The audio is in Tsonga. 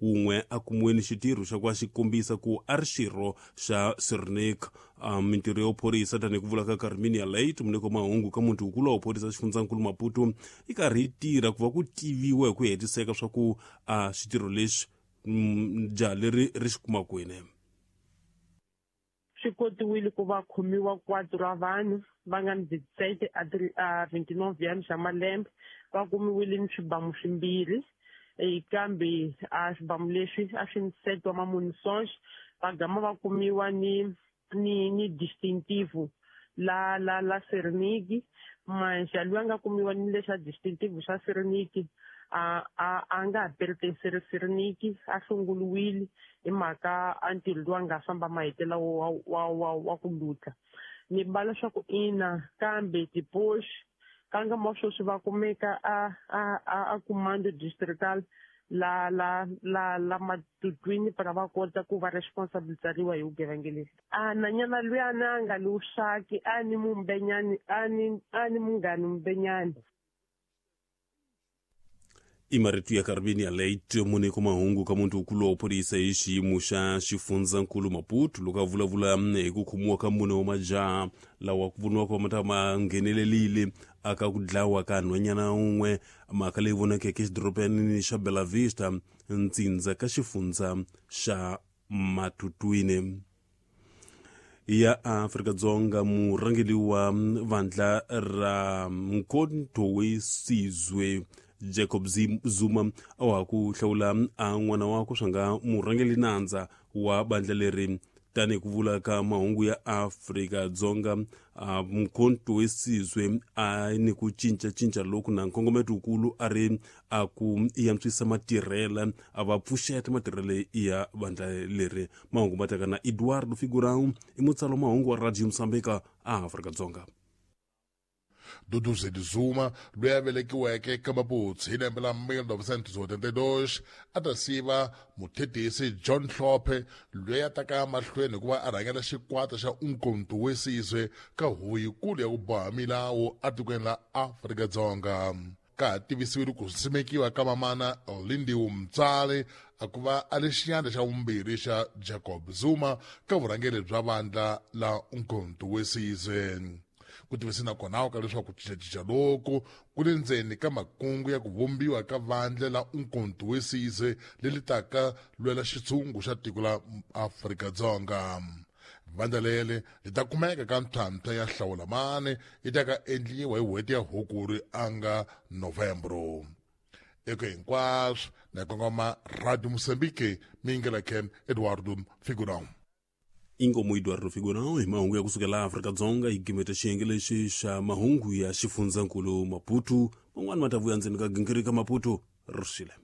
Wun'we a kumiwe ni xitirho xa ku va xi kombisa ku a ri xirho xa Sirnik. Mintirho ya vuphorisa tanihi ku vula ka Carminia Late, muneko wa mahungu ka muti wukulu wa vuphorisa xifundzankulu Maputo, yi karhi yi tirha ku va ku tiviwa hi ku hetiseka swa ku a xitirho lexi jaha leri ri xi kuma kwini. Swi kotiwile ku va khomiwa 4 ra vanhu va nga ni 17 a 29 anos xa malembe, va kumiwile ni swibamu swimbirhi, kambe a swibamu leswi a swi ni set wa mamunições, va gama va kumiwa ni ni ni distintivo la la la Serniki, manxa loyi a nga kumiwa ni lexa distintivo xa Serniki a a a nga ha pertenceri Serniki, a hlongoliwile hi mhaka a ntirho lowu a nga famba mahetela wa wa wa wa ku lutla. Ni bala swa ku ina kambe tipoxi ka nkama wa sweswi va kumeka a a a a comando distrital la la la la matutwini para va kota ku va responsabilizariwa hi vugevenga lebyi. A nanyana luyani a nga lusaki a ni mumbenyani a ni a ni munghani mumbenyani. I marito ya Carminia Late, muneko mahungu ka muti wukulu wa vuphorisa hi xiyimo xa xifundzankulu Maputo, loko a vulavula hi ku khomiwa ka mune wa majaha lawa ku voniwaka ma ta ma nghenelelile aka ku dlawa ka nhwanyana un'we, mhaka leyi vonakeke exidorobanini xa Bela Vista, ntsindza ka xifundza xa Matutwini ya Afrika-Dzonga. Murhangeri wa vandla ra Mkhonto we Sizwe Jacob Zuma a wa ha ku hlawula a n'wana wakwe swa nga murhangeri nandza wa bandla leri, tanihi ku vula ka mahungu ya Afrika-Dzonga. Mkhonto we Sizwe a ni ku cincacinca loku na nkongometo wukulu a ri a ku yantswisa matirhela, a va pfuxeta matirhele ya vandla leri. Mahungu ma teka na Eduardo Figurão, i mutsalo mahungu wa Radio Mozambique a Afrika-Dzonga. Duduzile Zuma loyi a velekiweke ka Maputsi hi lembe la 1972 a ta siva muthethisi John Hlophe loyi a taka mahlweni hikuva a rhangela xikwata xa Umkhonto we Sizwe ka huvo yikulu ya ku boha milawu atikweni la Afrika-Dzonga. Ka ha tivisiwile ku simekiwa ka mamana Lindiwe Mtsali a ku va a ri xiyandla xa vumbirhi xa Jacob Zuma ka vurhangeri bya vandla la Umkhonto we Sizwe. Ku tivise na kona ka leswaku ku cincacinca loku ku le ndzeni ka makungu ya ku vumbiwa ka vandla la Umkhonto we Sizwe leri taka lwela xitshungu xa tiko la Afrika-Dzonga. Vandla leri li ta kumeka ka ntlhantlha ya hlawulamani yi ta ka endliwa hi n'hweti ya Hukuri a nga Novembro. Eka hinkwaswo na kongoma Radio Mozambique mingela Ken Eduardo Figurão. Inkomu Eduardo Figurão hi mahungu ya kusukela Afrika-Dzonga yi gimeta xiyenge lexi xa mahungu ya xifundzankulu Maputo. Man'wani ma ta vuya ndzeni ka gingirika Maputo ri xile.